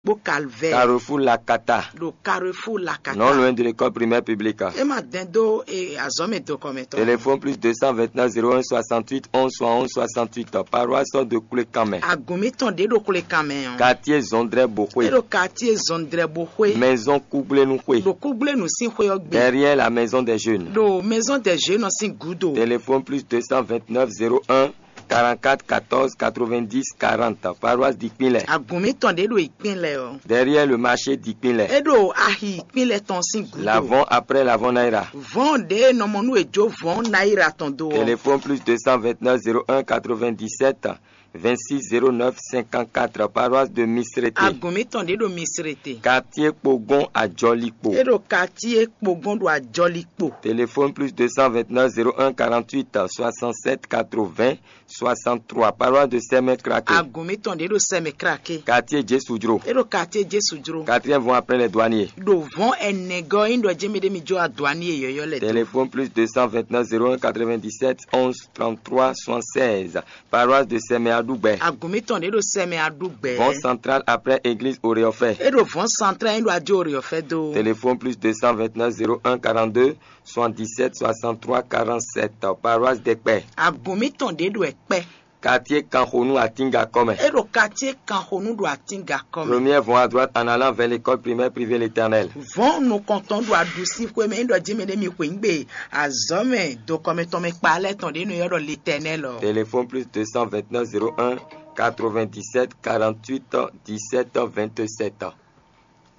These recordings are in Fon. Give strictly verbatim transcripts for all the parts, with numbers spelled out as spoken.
kpó Calvaire. Carrefour Lakata. Ɖo Carrefour Lakata. Non loin de l'école primaire publique. E ma dɛn dó e azɔmɛ do kɔmɛtɔ. Téléphone plus deux cent vingt-neuf zéro un soixante-huit onze soixante-onze soixante-huit, paroisse de Kulekanmɛ. Agun mitɔn ɖe ɖo Kulekanmɛ ɔ́. Quartier Zɔndrɛ Boxwe. E ɖo quartier Zɔndrɛ Boxwe. Maison Kugblenu Xwe. Ɖo Kugblenu sín xwe ɔ́ gbe. Derrière la maison des jeunes. Ɖo maison des jeunes ɔ́ sín gúdo. Téléphone plus deux cent vingt-neuf zéro un quarante-quatre quatorze quatre-vingt-dix quarante, paroisse d'Ikpinlɛ. Agun mitɔn ɖe ɖo Ikpinlɛ ɔ́. Derrière le marché d'Ikpinlɛ. E ɖo ahi Ikpinlɛ tɔn sín gúdo. L'avant après l'avant Naira. Vɔn ɖe nɔmɔnu e jó vɔn Naira tɔn do ɔ́. Téléphone plus deux cent vingt-neuf zéro un quatre-vingt-dix-sept vingt-six zéro neuf cinquante-quatre, paroisse de Misrete. Agun mitɔn ɖe ɖo Misrete. Quartier Kpogon Ajɔlikpo. E ɖo quartier Kpogon ɖo Ajɔlikpo. Téléphone plus deux cent vingt-neuf zéro un quarante-huit soixante-sept quatre-vingts soixante-trois, paroisse de Sɛmɛ Krake. Agun mitɔn ɖe ɖo Sɛmɛ Krake. Quartier Jesu Jro. E ɖo quartier Jesu Jro. Quatrième vɔn après les douaniers. Ɖo vɔn ɛnɛ gɔ́ ɔ́, nyí ɖɔ jɛ́n mɛ ɖé mi jó aduani e yɔ̌yɔ́ lɛ́ dó. Téléphone plus deux cent vingt-neuf zéro un quatre-vingt-dix-sept onze trente-trois soixante-seize, paroisse de Sɛmɛ Aɖugbɛ. Agun mitɔn ɖe ɖo Sɛmɛ Aɖugbɛ. Vɔn central après église Oreɔfɛ. E ɖo vɔn central e ɖo adó Oreɔfɛ dó. Téléphone plus deux cent vingt-neuf zéro un quarante-deux soixante-dix-sept soixante-trois quarante-sept, paroisse Dɛkpɛ. Agun mitɔn ɖe ɖo Ɛkpɛ. Quartier Kanxonu Atinga kɔmɛ. E ɖo quartier Kanxonu ɖo Atinga kɔmɛ. Première vont à droite en allant vers l'école primaire privée L'Éternel. Vɔn nukɔntɔn ɖo aɖusi xwe mɛ, e ɖɔ jɛ́n mɛ ɖé mi xweyǐgbe azɔ̌ mɛ do kɔmɛ tɔn mɛ kpa lɛ́ tɔn ɖě nɔ ylɔ́ ɖɔ l'Éternel ɔ́. Téléphone plus deux cent vingt-neuf zéro un quatre-vingt-dix-sept quarante-huit dix-sept vingt-sept.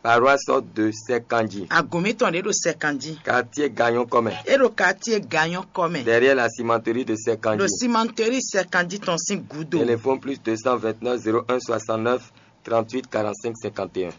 Paroisse de Sɛkanji. Agun mitɔn ɖě ɖo Sɛkanji. Quartier Gagnon kɔmɛ. E ɖo quartier Gagnon kɔmɛ. Derrière la cimenterie de Sɛkanji. Ɖo cimenterie Sɛkanji tɔn sín gúdo. Téléphone plus deux cent vingt-neuf zéro un soixante-neuf trente-huit quarante-cinq cinquante et un.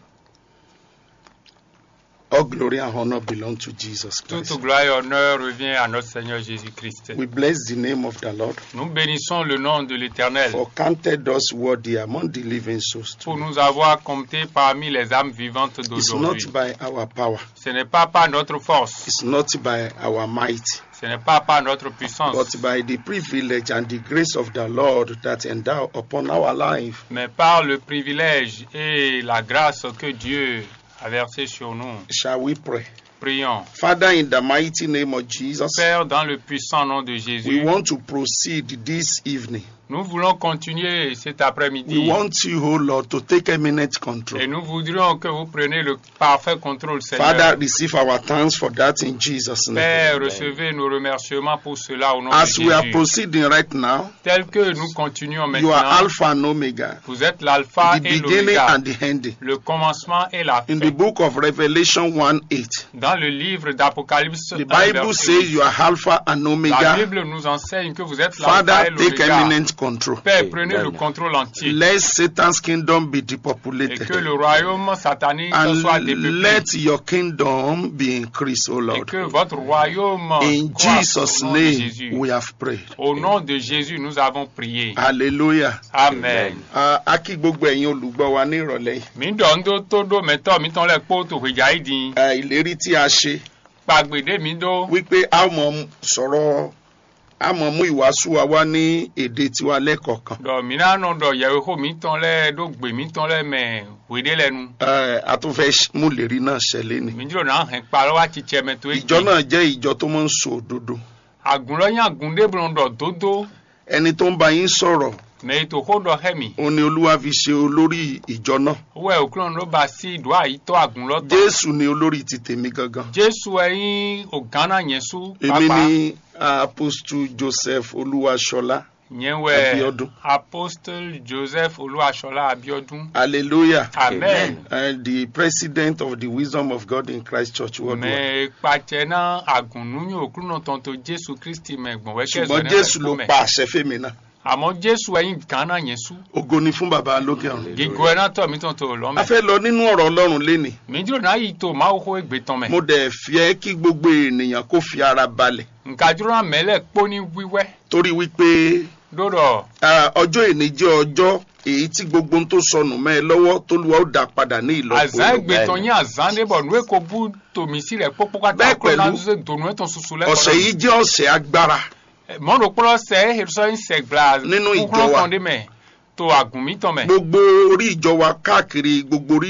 All glory and honor belong to Jesus Christ. Toute gloire et honneur revient à notre Seigneur Jésus-Christ. We bless the name of the Lord. Nous bénissons le nom de l'Éternel. For counted us worthy among the living souls. Pour nous avoir comptés parmi les âmes vivantes d'aujourd'hui. It's not by our power. Ce n'est pas par notre force. It's not by our might. Ce n'est pas par notre puissance. But by the privilege and the grace of the Lord that endow upon our life. Mais par le privilège et la grâce que Dieu a versé sur nous. Shall we pray? Prions. Father, in the mighty name of Jesus, Père, dans le puissant nom de Jésus, we want to proceed this evening. Nous voulons continuer cet après-midi. We want you, O Lord, to take eminent control. Et nous voudrions que vous preniez le parfait contrôle, Seigneur. Father, receive our thanks for that in Jesus' name. Père, recevez nos remerciements pour cela au nom de Jésus. As we are proceeding right now, Tel que nous continuons maintenant, you are Alpha and Omega, vous êtes l'alpha et l'oméga, the beginning and the ending. Le commencement et la fin. In the book of Revelation one eight, dans le livre d'Apocalypse, the Bible says you are Alpha and Omega. La Bible nous enseigne que vous êtes l'alpha et l'oméga. Father, take eminent control. Père, prenez le contrôle entier. Let Satan's kingdom be depopulated. Et que le royaume satanique soit dépeuplé. And let your kingdom be increased, O Lord. Et que votre royaume croisse au nom de Jésus. In Jesus' name we have prayed. Au nom de Jésus, nous avons prié. Hallelujah. Amen. Ah, a kí gbogbo ẹ̀yin olùgbọ́ wa ní ìrọ̀lẹ́ yìí. Mi ɖɔ ŋɖó tó ɖó mɛtɔ́ mitɔn lɛ́ɛ kpó to hweja yi din. Ah, ìlérí tí a ṣe. Kpagbe ɖé mi ɖó. Wípé a mọ̀ sọ̀rọ̀, a mọ̀ mú ìwàásù wa wá ní èdè tiwa lẹ́kọ̀ọ̀kan. Ɖɔ mi ná nɔ ɖɔ yɛwexó mitɔn lɛ́ɛ ɖó gbe mitɔn lɛ́ɛ mɛ hweɖé lɛ́ɛ nu. Eh, a tún fẹ́ ṣ-, mú ìlérí náà ṣẹ lénìí. Mi jló ná hɛn kpalɔ wá cicɛ mɛ tó é. Ìjọ náà jẹ́ ìjọ tó máa ń sọ òdodo. Àgùn lɔ nyí àgùn ɖé blɔ́ ɖɔ dódó. Ẹni tó ń bá yín sọ̀rọ̀, mɛ e to xó ɖɔ xɛ mi. Òun ni Olúwa fi ṣe olórí ìjọ náà. Wɛ òkúlọ̀ ló ba sí ɖó àyítọ́ àgùn lɔ tɔn. Jésù ni olórí ti tèmi gangan. Jésù wɛ nyí ògán ná nyɛ sú. Èmi pàápàá ni Apostle Joseph Olúwaṣọlá. Nyɛ wɛ Abiodun. Apostle Joseph Olúwaṣọlá Abiodun. Hallelujah. Amen. And the president of the Wisdom of God in Christ Church Worldwide. Mɛ kpacɛ ná àgùn nú nyí òkúlọ̀ tɔn tó Jésù Kristi mɛ gbɔn wɛ kẹ́ ṣùgbọ́n zɔ́ Jésù ló pa àṣẹ fèmí náà. Àmọ́ Jésù wɛ nyí gǎn ná nyɛ sú. Ògo ni fún Baba lókè ọ̀run. Gígó ẹ ná tọ̀ mí tɔn tó lọ́ mẹ́. A fẹ́ lọ nínú ọ̀rọ̀ Ọlọ́run lénìí. Mi jló ná yi to Mawu xó égbé tɔn mɛ. Mo dẹ̀ fẹ́ kí gbogbo ènìyàn kó fi ara balẹ̀. Nka jló ná mɛ lɛ kpó ní wíwẹ́. Torí wípé Ɖó ɖɔ ah, ọjọ́ èní jẹ́ ọjọ́ èyí tí gbogbo ohun tó sọnù mẹ́ ẹ lọ́wọ́, t'Olúwa ó dá padà ní ìlọ́po azán ìlọ́po. Égbé tɔn nyí azán ɖé bɔ nú é ko bú to mǐ sí lɛ̌ kpókpó káká. Bẹ́ẹ̀ kó ná pẹ̀lú, zé donu é tɔn susu lɛ́ kɔ. Ọ̀sẹ̀ yìí jẹ́ ọ̀sẹ̀ agbára. Mɔ̌ ɖokpó lɔ sɛ é he sɔ́ nyí sɛgbla nínú ìjọ wa. Kúkúrú tɔn ɖé mɛ to àgùn mítɔn mɛ. Gbogbo orí ìjọ wa káàkiri gbogbo orílẹ̀